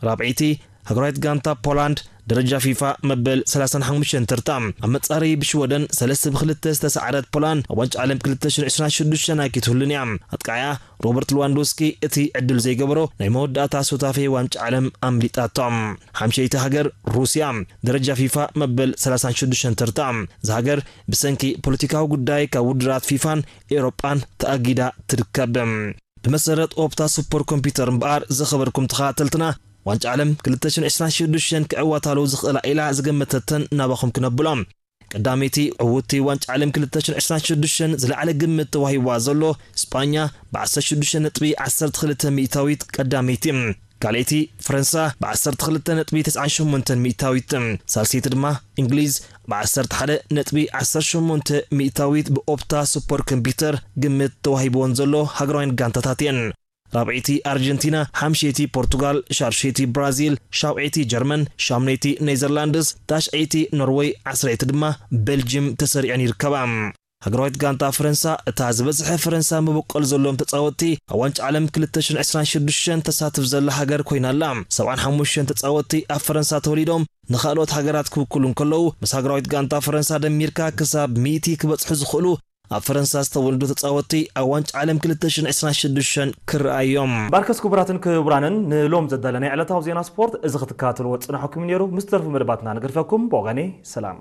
ራብዐይቲ ሃገራዊት ጋንታ ፖላንድ ደረጃ ፊፋ መበል ሰላሳን ሓሙሽተን ተርታ። ኣብ መጻረዪ ብሽወደን ሰለስተ ብክልተ ዝተሰዓረት ፖላንድ ኣብ ዋንጫ ዓለም ክልተ ሽሕን ዕስራን ሽዱሽተን ኣይክትህሉን እያ። ኣጥቃዕያ ሮበርት ሌዋንዶስኪ እቲ ዕድል ዘይገበሮ ናይ መወዳእታ ሱታፌ ዋንጫ ዓለም ኣምሊጣቶም። ሓምሸይቲ ሃገር ሩስያ ደረጃ ፊፋ መበል ሰላሳን ሽዱሽተን ተርታ። እዛ ሃገር ብሰንኪ ፖለቲካዊ ጉዳይ ካብ ውድድራት ፊፋን ኤውሮጳን ተኣጊዳ ትርከብ። ብመሰረት ኦፕታ ሱፐር ኮምፒውተር እምበኣር ዝኸበርኩም ተኸታተልትና ዋንጫ ዓለም ክልተ ሽሕን ዕስራን ሽዱሽተን ክዕወታሉ ዝኽእላ ኢላ ዝገመተተን ናባኹም ክነብሎም። ቀዳመይቲ ዕውቲ ዋንጫ ዓለም ክልተ ሽሕን ዕስራን ሽዱሽተን ዝለዓለ ግምት ተዋሂብዋ ዘሎ ስጳኛ ብ ዓሰርተ ሽዱሽተ ነጥቢ ዓሰርተ ክልተ ሚእታዊት ቀዳመይቲ፣ ካልኣይቲ ፈረንሳ ብ ዓሰርተ ክልተ ነጥቢ ተስዓን ሸሞንተን ሚእታዊት፣ ሳልሰይቲ ድማ እንግሊዝ ብ ዓሰርተ ሓደ ነጥቢ ዓሰርተ ሸሞንተ ሚእታዊት ብኦፕታ ሱፐር ኮምፒውተር ግምት ተዋሂብወን ዘሎ ሃገራውያን ጋንታታት እየን። ራብዐይቲ ኣርጀንቲና፣ ሓምሸይቲ ፖርቱጋል፣ ሻድሸይቲ ብራዚል፣ ሻውዐይቲ ጀርመን፣ ሻምነይቲ ኔዘርላንድስ፣ ታሽዐይቲ ኖርወይ፣ ዓስረይቲ ድማ ቤልጅም ተሰሪዐን ይርከባ። ሃገራዊት ጋንታ ፈረንሳ፣ እታ ዝበዝሐ ፈረንሳ መበቆል ዘለዎም ተጻወትቲ ኣብ ዋንጫ ዓለም ክልተ ሽሕን ዕስራን ሽዱሽተን ተሳትፍ ዘላ ሃገር ኮይና ኣላ። ሰብዓን ሓሙሽተን ተጻወትቲ ኣብ ፈረንሳ ተወሊዶም ንኻልኦት ሃገራት ክውክሉ እንከለዉ፣ ምስ ሃገራዊት ጋንታ ፈረንሳ ደሚርካ ክሳብ ሚእቲ ክበጽሑ ዝኽእሉ ኣብ ፈረንሳ ዝተወልዱ ተጻወትቲ ኣብ ዋንጫ ዓለም ክልተ ሽሕን ዕስራን ሽዱሽተን ክረኣዩ እዮም። ባርከስ ክቡራትን ክቡራንን ንሎም ዘዳለናዮ ዕለታዊ ዜና ስፖርት እዚ ክትከታተልዎ ዝጸናሕኩም እዩ ነይሩ። ምስ ተርፉ መደባትና ንገድፈኩም። ብወገነይ ሰላም።